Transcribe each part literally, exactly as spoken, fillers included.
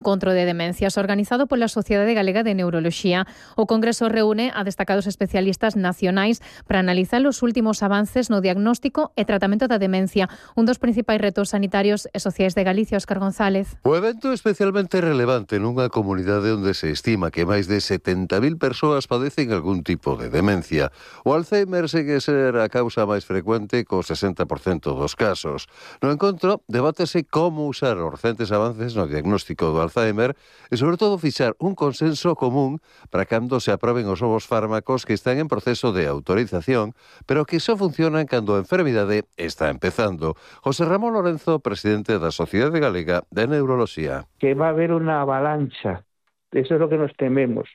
Encontro de Demencias, organizado pola Sociedade Galega de Neuroloxía. O Congreso reúne a destacados especialistas nacionais para analizar os últimos avances no diagnóstico e tratamento da demencia, un dos principais retos sanitarios e sociais de Galicia. Óscar González. O evento é especialmente relevante nunha comunidade onde se estima que máis de setenta mil persoas padecen algún tipo de demencia. O Alzheimer segue ser a causa máis frecuente co sesenta por cento dos casos. No encontro, debátese como usar os recentes avances no diagnóstico do Alzheimer e, sobre todo, fixar un consenso común para cando se aproben os novos fármacos que están en proceso de autorización, pero que só funcionan cando a enfermidade está empezando. José Ramón Lorenzo, presidente da Sociedade Galega de Neuroloxía. Que va a haber una avalancha, eso es lo que nos tememos,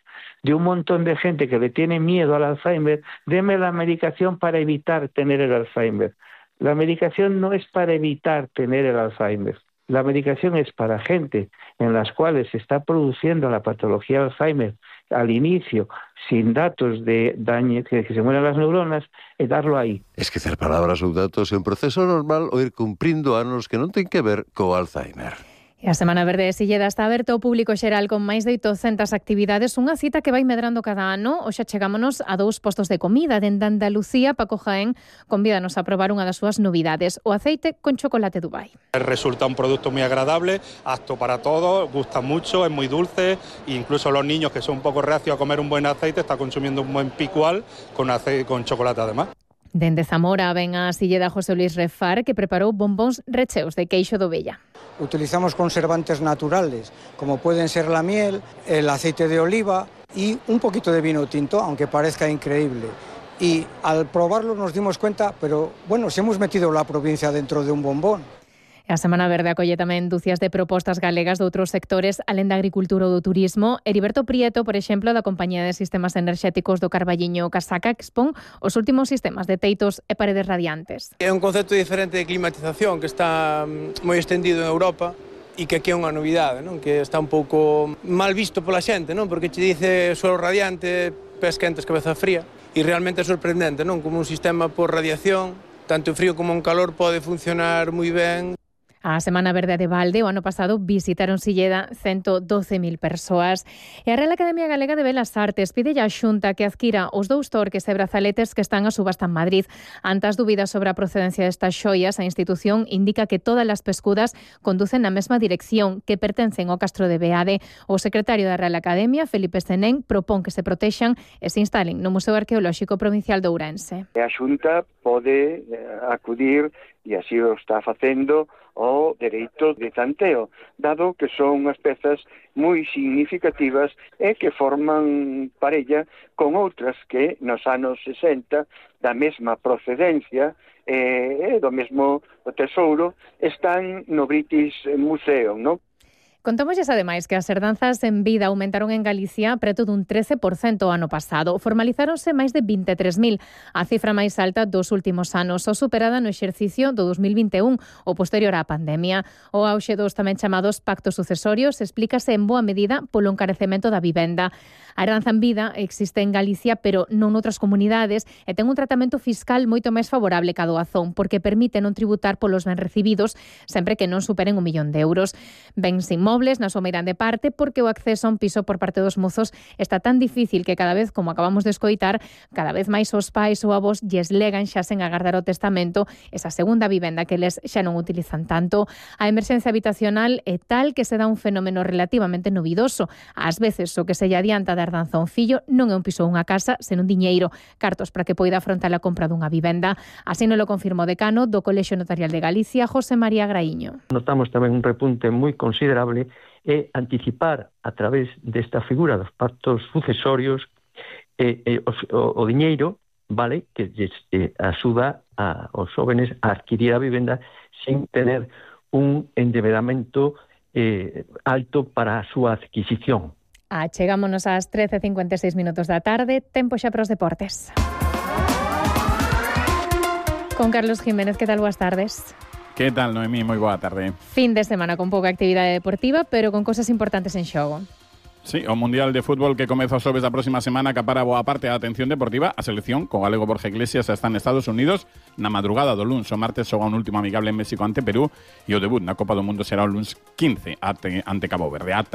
de un montón de gente que le tiene miedo al Alzheimer. Deme la medicación para evitar tener el Alzheimer. La medicación no es para evitar tener el Alzheimer. La medicación es para gente en las cuales se está produciendo la patología de Alzheimer al inicio, sin datos de daño, que, que se mueran las neuronas, e darlo aí. Esquecer palabras ou datos é un proceso normal ou ir cumprindo anos que non ten que ver co Alzheimer. E a Semana Verde de Silleda está aberta ao público xeral con máis de oitocentas actividades, unha cita que vai medrando cada ano. Hoxe chegámonos a dous postos de comida. Dende Andalucía, Paco Jaén convídanos a probar unha das súas novidades, o aceite con chocolate Dubai. Resulta un producto muy agradable, apto para todos, gusta mucho, es muy dulce, e incluso los niños que son un poco reacios a comer un buen aceite están consumiendo un buen picual con, aceite, con chocolate además. Dende Zamora ven a Silleda José Luis Refar, que preparou bombóns recheos de queixo do Vella. Utilizamos conservantes naturales, como pueden ser la miel, el aceite de oliva y un poquito de vino tinto, aunque parezca increíble. Y al probarlo nos dimos cuenta, pero bueno, si hemos metido la provincia dentro de un bombón. A Semana Verde acolle tamén dúcias de propostas galegas de outros sectores, alén da agricultura ou do turismo. Heriberto Prieto, por exemplo, da Compañía de Sistemas Enerxéticos do Carballiño Casaca, que expón os últimos sistemas de teitos e paredes radiantes. É un concepto diferente de climatización que está moi extendido en Europa e que aquí é unha novidade, non? Que está un pouco mal visto pola xente, non? Porque che dice suelo radiante, pés quentes, cabeza fría, e realmente é sorprendente, non? Como un sistema por radiación, tanto en frío como en calor, pode funcionar moi ben. A Semana Verde de Valde o ano pasado visitaron Silleda ciento doce mil persoas. E a Real Academia Galega de Belas Artes pide a Xunta que adquira os dous torques e brazaletes que están a subasta en Madrid. Ante as dúbidas sobre a procedencia destas xoias, a institución indica que todas as pescudas conducen na mesma dirección, que pertencen ao Castro de Beade. O secretario da Real Academia, Felipe Senén, propón que se protexan e se instalen no Museo Arqueolóxico Provincial de Ourense. A Xunta pode acudir, e así o está facendo, o dereito de tanteo, dado que son unhas pezas moi significativas e que forman parella con outras que nos anos sesenta da mesma procedencia e do mesmo tesouro están no British Museum, non? Contámosles ademais que as herdanzas en vida aumentaron en Galicia preto dun trece por cento o ano pasado. Formalizáronse máis de vinte e tres mil, a cifra máis alta dos últimos anos, só superada no exercicio do dos mil vinte e un, o posterior á pandemia. O auxe dos tamén chamados pactos sucesorios explícase en boa medida polo encarecemento da vivenda. A herdanza en vida existe en Galicia, pero non noutras comunidades, e ten un tratamento fiscal moito máis favorable que a doazón, porque permite non tributar polos ben recibidos sempre que non superen un millón de euros. Bens inmobles na súa meirande parte, porque o acceso a un piso por parte dos mozos está tan difícil que cada vez, como acabamos de escoitar, cada vez máis os pais ou avós lles legan xa sen agardar o testamento esa segunda vivenda que les xa non utilizan tanto. A emerxencia habitacional é tal que se dá un fenómeno relativamente novidoso. Ás veces o que se lle adianta da herdanza a un fillo non é un piso ou unha casa, senón diñeiro, cartos para que poida afrontar a compra dunha vivenda. Así non lo confirmou o decano do Colexio Notarial de Galicia, José María Graíño. Notamos tamén un repunte moi considerable e anticipar a través desta figura dos pactos sucesorios eh, eh, o, o diñeiro, vale, que lles eh, axuda a, aos jóvenes a adquirir a vivenda sin tener un endebedamento eh, alto para a súa adquisición. Ah, chegámonos ás trece e cincuenta e seis minutos da tarde, tempo xa para os deportes. Con Carlos Jiménez, que tal? Boas tardes. Que tal, Noemí? Moi boa tarde. Fin de semana con pouca actividade deportiva, pero con cosas importantes en xogo. Sí, o Mundial de Fútbol que comeza o xoves da próxima semana acapara boa parte da atención deportiva. A selección, co galego Borja Iglesias, está en Estados Unidos na madrugada do luns. O martes xoga un último amigable en México ante Perú e o debut na Copa do Mundo será o luns quince ante, ante Cabo Verde. Ata